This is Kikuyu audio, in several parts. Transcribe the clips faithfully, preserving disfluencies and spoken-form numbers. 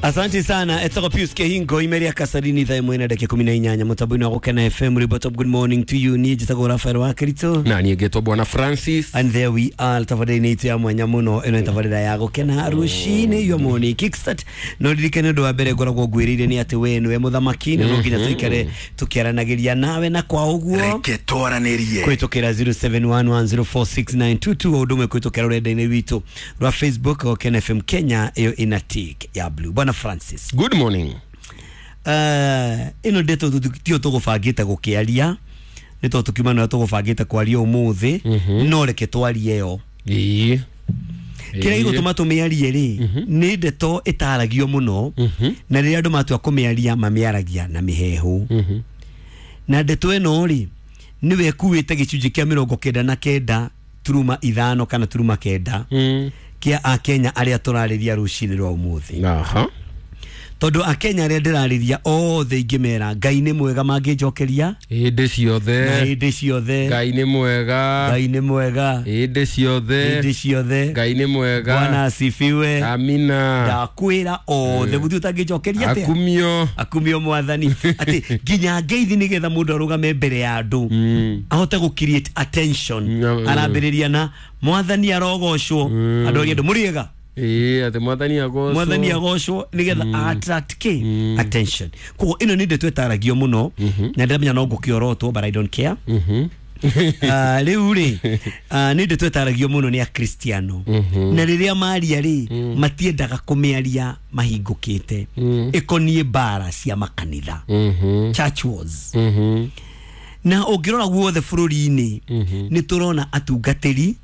Asante sana etagwo Pius Kehingo imeria Kasarini thaa ĩmwe na ndagĩka ikũmi na inyanya mũtambo-inĩ wa Gũkena F M. Ribot, good morning to you. Niĩ njĩtagwo Rafael wa Kirito na niĩ ngetwo Bwana Francis, and there we are tabarĩra-inĩ itũ ya mwanya mũno. Ĩno nĩ tabarĩra ya Gũkena rũcinĩ, your morning kickstart. No ririkane ũndũ wa mbere ngoragwo ngwĩrĩire nĩ atĩ we nĩwe mũthamaki na no nginya tũikare tũkĩaranagĩria nawe, na kwa ũguo reke twaranĩrie kũhĩtũkĩra zero seven one one zero four six nine two two o ũndũ ũmwe kũhĩtũkĩra rũrenda-inĩ rwitũ rwa Facebook Gũkena F M Kenya, ĩyo ĩna tick ya blue. Bwana Francis, good morning. Uh, ĩno ndeto tio tũgũbangĩte gũkĩaria nĩ tondũ tũkiuma na tũgũbangĩte kwaria ũmũthĩ, no reke twarie yo. Ĩĩ, kĩrĩa gĩgũtũma tũmĩarie rĩ nĩ ndeto ĩtaragio mũno, na rĩrĩa andũ matua kũmĩaria mamĩaragia na mĩhehu. Na ndeto ĩno rĩ nĩwe ĩkuĩte gĩcunjĩ kĩa mĩrongo kenda na kenda turuma ithano kana turuma kenda kĩa Akenya arĩa tũrarĩria rũcinĩ rwa ũmũthĩ. Aha. Tondũ Akenya arĩa ndĩrarĩria othe ingĩmera Ngai nĩ mwega mangĩnjokeria hĩndĩ ciothe, na hĩndĩ ciothe Ngai nĩ mwega, Ngai nĩ mwega hĩndĩ ciothe, hĩndĩ ciothe Ngai nĩ mwega, Bwana asifiwe, amina. Ndakwĩra othe gũtirĩ ũtangĩnjokeria atĩa, akumio, akumio mwathani, atĩ nginya ngeithi nĩgetha mũndũ arũgame mbere ya andũ ahote gũ create attention, arambĩrĩria na mwathani arogocwo, andũ arĩa andũ mũrĩega. Ĩĩ, atĩ mwathani agocwo, mwathani agocwo nĩgetha attract k attention. Koguo ĩno nĩ ndeto ĩtaragio mũno na ndĩramenya no ngũkĩorotwo, but I don't care. Rĩu rĩ nĩ ndeto ĩtaragio mũno nĩ Akristiano, na rĩrĩa maria rĩ matiendaga kũmĩaria mahingũkĩte, ĩkoniĩ mbara cia makanitha, church wars. Na ũngĩrora guothe bũrũri-inĩ nĩ tũrona atungatĩri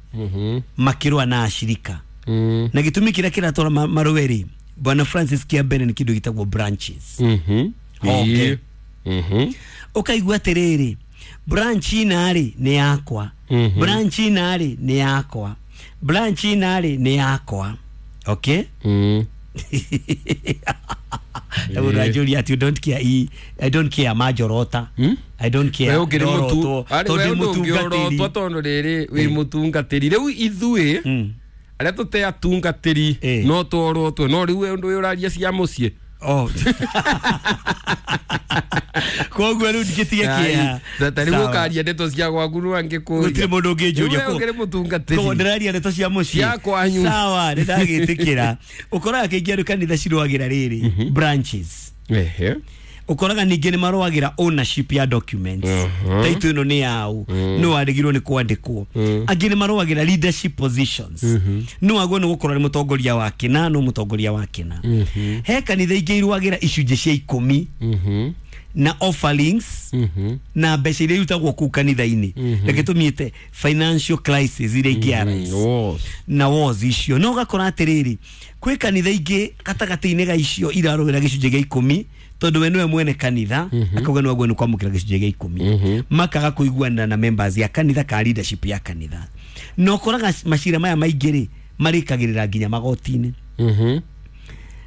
makĩrũa na ashirika. Mm. Na gĩtũmi kĩrĩa kĩratwara marũe rĩ, Bwana Francis, kĩa mbere nĩ kĩndũ gĩtagwo branches. Mhm. Okay. Mhm. Ũkaigua atĩrĩrĩ, branch ina rĩ nĩ yakwa, branch ina rĩ nĩ yakwa, branch ina rĩ nĩ yakwa. Okay? Mhm. Mũndũ anjũria atĩ you don't care, I don't care manjorota. I don't care. We ũkĩrĩ mũtu, tondũ mũtungatĩri, tondũ rĩrĩ wĩ mũtungatĩri. Rĩu ithuĩ arĩa tũte atungatĩri no tworotwo, no rĩu ũndũ ũyũ ũraria cia mũciĩ. Oh. Koguo rĩu ndingĩtiga kĩeha. Ta rĩu ũkaria ndeto cia gwaku no angĩkũria. Gũtirĩ mũndũ ũngĩnjũria. Koguo ũkĩrĩ mũtungatĩri. Koguo ndĩraria ndeto cia mũciĩ. Cia kwanyu. Sawa, nĩndagĩtĩkĩra. Ũkoraga kaingĩ andũ kanitha cirũagĩra rĩrĩ branches. Ehe. Ũkoraga ningĩ nĩ marũagĩra ownership ya documents. Title ĩno nĩ yao, no warĩgirwo nĩ kwandĩkwo. Angĩ nĩ marũagĩra leadership positions. No wagwo nĩ gũkorwo nĩ mũtongoria wa kĩna, no mũtongoria wa kĩna. He kanitha ingĩ irũagĩra icunjĩ cia ikũmi na offerings na mbeca iria irutagwo kũu kanitha-inĩ. Reke tũmĩte financial crisis iria ingĩ arise na wars icio. No ũgakora atĩrĩrĩ, kwĩ kanitha ingĩ gatagatĩ-inĩ ga icio irarũĩra gĩcunjĩ gĩa ikũmi, tondũ we nĩwe mwene kanitha, akauga nĩ wagwo nĩ kwamũkĩra gĩcunjĩ gĩa ikũmi, makaga kũiguanĩra na members ya kanitha ka leadership ya kanitha. Na ũkoraga macira maya maingĩ rĩ marĩkagĩrĩra nginya magoti-inĩ.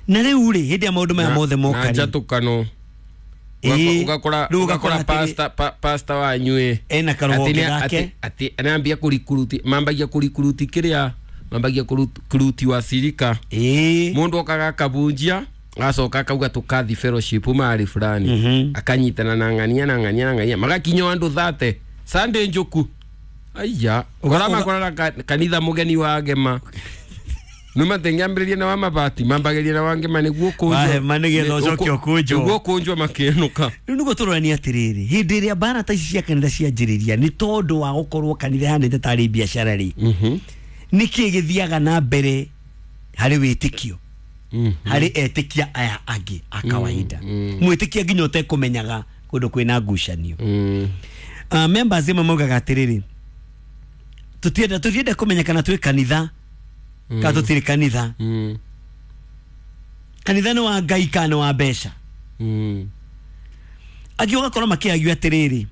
Na rĩu rĩ hĩndĩ ya maũndũ maya mothe moka na njatũkano, ũgakora ũgakora pastor pastor wanyu ĩ ena karũhonge gake, atĩ anambia kũrikuruti, mambagia kũrikuruti kĩrĩa mambagia kũrikuruti wa cirika. Ĩĩ, mũndũ okaga akabunjia agacoka akauga tũkathi fellowship mahali fulani, akanyitana na ng'ania na ng'ania na ng'ania, magakinya andũ thate Sunday njuku. Aiya, ũkora makorana kanitha mũgeni wa ngema numa tengĩambĩrĩria na wa mabati mambagĩria na wa ngema nĩguo kũnjwo wahema nĩgetha ũcoke ũkũnjwo, nĩguo kũnjwo makĩenũka. Rĩu nĩguo tũroranie atĩrĩrĩ, hĩndĩ ĩrĩa mbara ta ici cia kanitha cianjĩrĩria nĩ tondũ wa gũkorwo kanitha ĩhanĩte tarĩ biacara rĩ, nĩkĩĩ gĩthiaga na mbere harĩ wĩtĩkio harĩ etĩkia aya angĩ a kawaida, mwĩtĩkia nginya ũtekũmenyaga kũndũ kwĩna ngucanio. Members amwe maugaga atĩrĩrĩ, tũtienda tũtienda kũmenya kana twĩ kanitha kana tũtirĩ kanitha. Kanitha nĩ wa Ngai kana nĩ wa mbeca. Angĩ ũgakora makĩagia atĩrĩrĩ,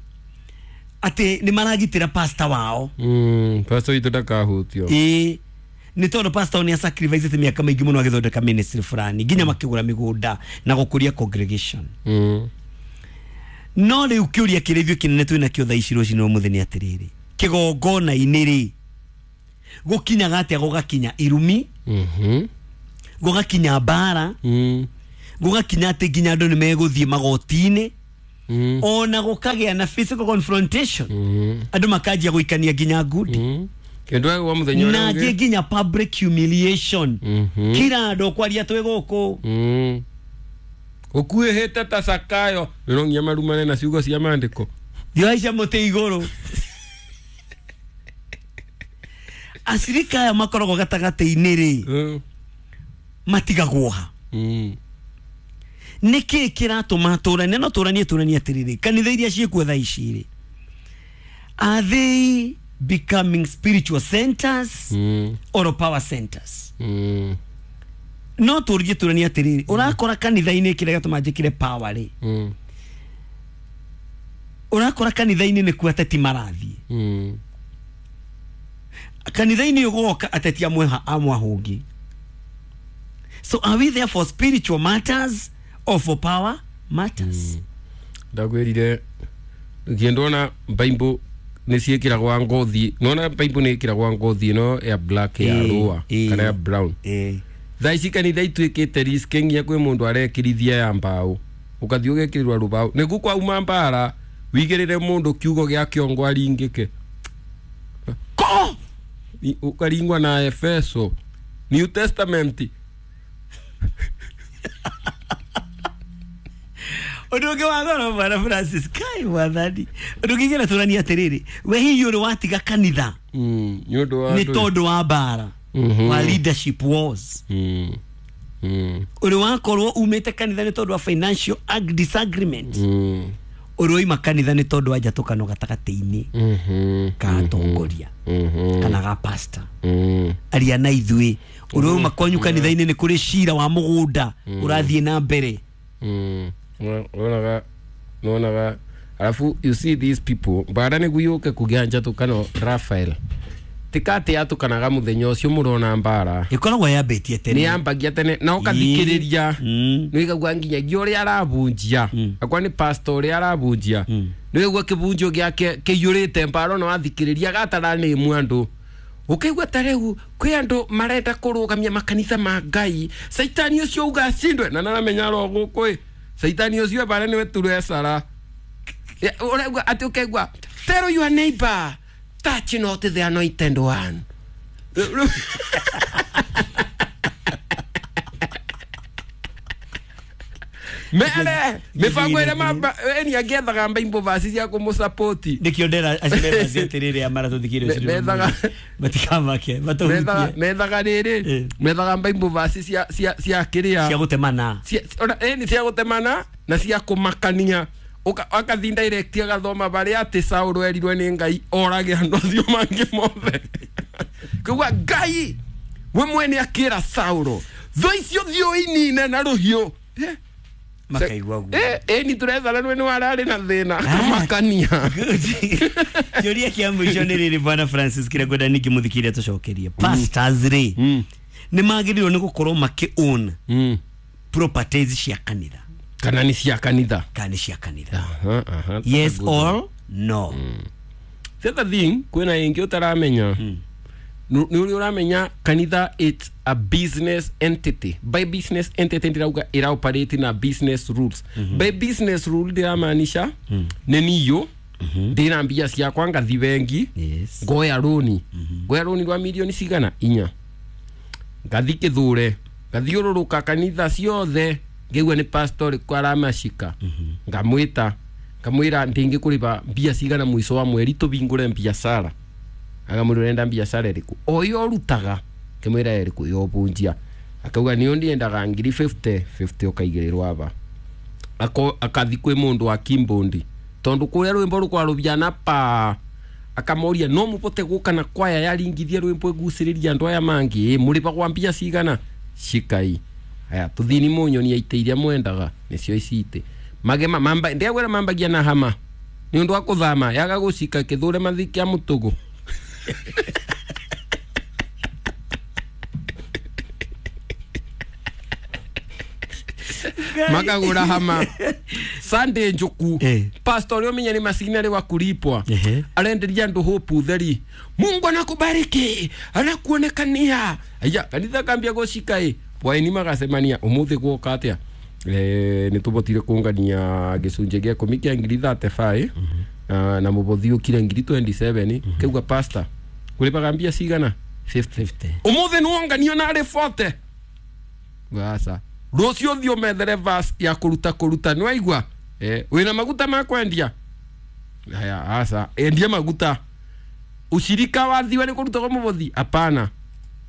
atĩ nĩ maragitĩra pastor wao. Pastor witũ ndakahutio. Ĩĩ, nĩ tondũ pastor nĩ asacrificete mĩaka mĩingĩ mũno agĩthondeka ministry fulani, nginya makĩgũra mĩgũnda na gũkũria congregation. No rĩu kĩũria kĩrĩa ithuĩ kĩnene twĩnakĩo thaa ici rũcinĩ rwa mũthenya atĩrĩrĩ, kĩgongona-inĩ rĩ gũkinyaga atĩa gũgakinya irumi, gũgakinya mbara, mm. Gũgakinya atĩ nginya andũ nĩ megũthiĩ magoti-inĩ Mm. ona gũkagĩa na physical confrontation Mm. andũ makanjia gũikania nginya ngundi Mm. Kĩndũ wa mũthenya ũrĩa na ũngĩ. angĩ nginya public humiliation Mhm. kira andũ kwaria twĩ gũkũ Mm. Ũkuĩhĩte ta Sakayo no nginya marumane na ciugo cia maandĩko. Thioaica mũtĩ igũrũ acirika aya makoragwo gatagatĩ-inĩ rĩ Mm. matigagwo ha Mm. nĩkĩ kĩratũma tũranie no tũranie tũranie atĩrĩrĩ kanitha iria ciĩkuo thaa ici rĩ are they becoming spiritual centers Mm. or power centers Mm. no tũrie tũranie atĩrĩrĩ ũrakora kanitha-inĩ kĩrĩa gĩatũma njĩkĩre power rĩ Mm. ũrakora kanitha-inĩ nĩkuo ateti marathiĩ Mm. kanitha-inĩ ũgoka ateti amwe ha- amwe ahũngĩ so are we there for spiritual matters or for power matters Ndakwĩrire kĩndũ Bible nĩ ciĩkĩragwa ngothi nona Bible nĩ ĩkĩragwa ngothi ĩno ya black ya Ĩĩ, rũa ĩĩ. kana ya brown eh thaa ici kanitha ituĩkĩte risk nginya kwĩ mũndũ arekĩrithia ya mbaũ ũkathiĩ ũgekĩrĩrwa rũbaũ nĩguo kwauma mbara wigĩrĩre mũndũ kiugo gĩa kĩongo aringĩke ko Ni- ũkaringwa na Efeso New Testament ũndũ ũngĩ wa goro bwana Francis kai mwathani ũndũ ũngĩ ingĩenda tũranie atĩrĩrĩ we hihi ũrĩ watiga kanitha Mm, nĩ ũndũ wa nĩ ndũĩ. tondũ wa mbara Mhm. wa leadership wars Mm. Mm. ũrĩ wakorwo umĩte kanitha nĩ tondũ wa financial ag- disagreement Mm. ũrĩ waima kanitha nĩ tondũ wa njatũkano gatagatĩ-inĩ Mhm. ka atongoria Mhm. kana ga pastor Mm. aria na ithuĩ ũrĩ wauma kwanyu kanitha-inĩ nĩ kũrĩ cira wa mũgũnda ũrathiĩ na mbere Mm. Wonaga nonaga alafu you see these people mbara nĩguo yũke kũgĩa njatũkano Raphael tikatĩ yatũkanaga mũthenya ũcio mũrona mbara ĩkoragwo yambĩtie nĩ tene yambagia tene na ũkathikĩrĩria Mm. nĩ ũigagua nginyagia ũrĩa arabunjia akwa nĩ pastor ũrĩa arabunjia nĩ ũigua kĩbunjio gĩake kĩiyũrĩte mbara ona wathikĩrĩria gataranĩmu andũ ũkaigua ta rĩu kwĩ andũ marenda kũrũgamia makanitha ma ngai caitani ũcio uga acindwe na naramenya ro gũkũ ĩ caitani ũcio mbara nĩwe turecara ũraigua atĩ ũkaigua tell your neighbor touch not the anointed one mere mibango ĩrĩa mamba eni angĩethaga mbaimbo vaci cia kũmũsapoti nĩkĩo ndera acio membaci atĩrĩrĩ a maratũthikĩrĩria Me- methaga- matikamake methaga matũhutie methaga rĩrĩ Eh. methaga mbaimbo vaci cia cia cia kĩrĩa cia gũtemana cia ona eni cia gũtemana na cia kũmakania Ũka- akathi direct agathoma barĩa atĩ Saũlũ erirwe nĩ Ngai orage andũ acio mangĩ mothe koguo Ngai we mwene akĩra Saũlũ thũ icio thiĩ ũinine na rũhiũ Eh, makaigua guo eh, eni tũrethana rwe nĩ wararĩ na thĩna akamakania kĩũria kĩa mũico nĩ rĩrĩ bwana Francis kĩrĩa ngwenda ningĩ mũthikĩrĩria tũcokerie pastors rĩ Mm. nĩ magĩrĩirwo nĩ gũkorwo makĩ own Mm. properties cia kanitha kana nĩ cia kanitha kana nĩ cia kanitha Aha, aha, yes good. or no The other thing kwĩna ĩngĩ ũtaramenya nĩ ũrĩa ũramenya kanitha it's a business entity by business entity ndĩrauga ĩra operate na business rules by business rule ndĩramaanisha nĩ niyo ndĩna mbia ciakwa ngathi bengi yes ngoya rũni ngoya rũni rwa mirioni cigana inya ngathi kĩthure ngathiũrũrũka kanitha ciothe ngĩigua nĩ pastor ũrĩkũ aramacika ngamwĩta ngamwĩra ndĩngĩkũrĩba mbia cigana mũico wa mweri tũbingũre biacara akamwĩra ũrenda biacara ĩrĩkũ o ĩyo ũrutaga ngĩmwĩra ĩrĩkũ ya ũbunjia akauga nĩyo ndiendaga ngiri fifty fifty ũkaigĩrĩrwo aba Ako- akathi kwĩ mũndũ wa kimbondi tondũ kũrĩa rwĩmbo rũkwarũbia pa akamoria no mũbote gũka na kwaya yaringithia rwĩmbo ĩgucĩrĩria andũ aya mangĩ ĩ mũrĩbagwa mbia cigana cikai aya tũthini mũnyonia itĩ iria mwendaga nĩcio ici itĩ magema mamba ndiagwĩra mambagia na hama nĩ ũndũ wa kũthama yaga gũcika kĩthũre mathi kĩa mũtũgũ makagũra hama Sunday njuku Eh. pastor ũrĩa ũmenya nĩ macinarĩ wa kulipwa Ehe. arenderia andũ hope theri Mungu anakubariki anakuonekania aya kanitha kambia gũcika ĩ bwaini magacemania ũmũthĩ gwoka atĩa Eh, nä tå botire kångania gä cunjä gä ikå mi kä a ngiri thirty-five na, na må bothi å kire ngiri twenty-seven käuga pastor kå rä baga mbia cigana fifty. fifty. Umuthi nä wonganio narä forty aca rå cio thiä å methere verse ya kå ruta kå ruta nä waigua eh, wä na maguta ma kwendia aya aca endia maguta ushirika wathiwa nä kå rutagwo må bothi apana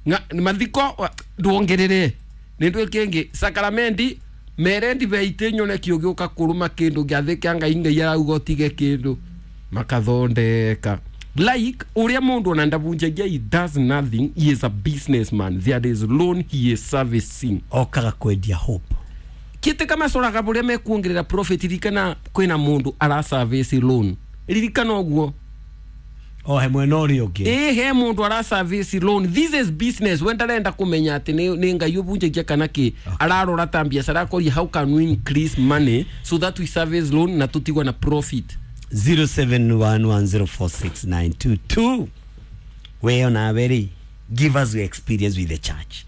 Nga- mathiko wa- ndwongerere nä ndwä kä ngä sakaramenti mere ndibei tä nyone kä å gä å ka kå rå ma kä ndå gä athä kä a ngai ngai arauga å tige kä ndå makathondeka like uria mundu ona ndabunjagia, he does nothing, he is a businessman. There is loan he is servicing. Okaga kwendia hope. Kite kama coraga buria mekuongerera profit, ririkana kwina mundu ara service loan, ririkana uguo. O he mwena ũrĩa ũngĩ. Ĩ he mundu ara service loan. This is business. We ndarenda kumenya ati nĩ nĩ ngai ũbunjagia kana kĩ, ararora ta biacara akoria how can we increase money so that we service loan na tutigwe na profit. zero seven one one zero four six nine two two. We onawe rĩ, give us your experience with the church.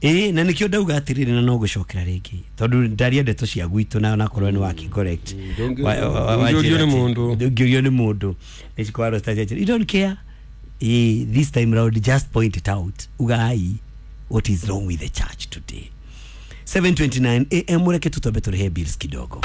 Ĩ na nikio ndauga atiriri na no gucokera ringi tondu ndaria ndeto cia gwitũ na onakorwo nĩ waki correct. Ndũngĩ- Wa- wa- wa- ndũngĩũrio nĩ wanjĩra atĩ- mũndũ. ndũngĩũrio nĩ mũndũ nĩ cikorwo you don't care. Eh, this time round just point it out, ugai what is wrong with the church today. seven twenty-nine A M, reke tutombe tũrĩhe bills kidogo.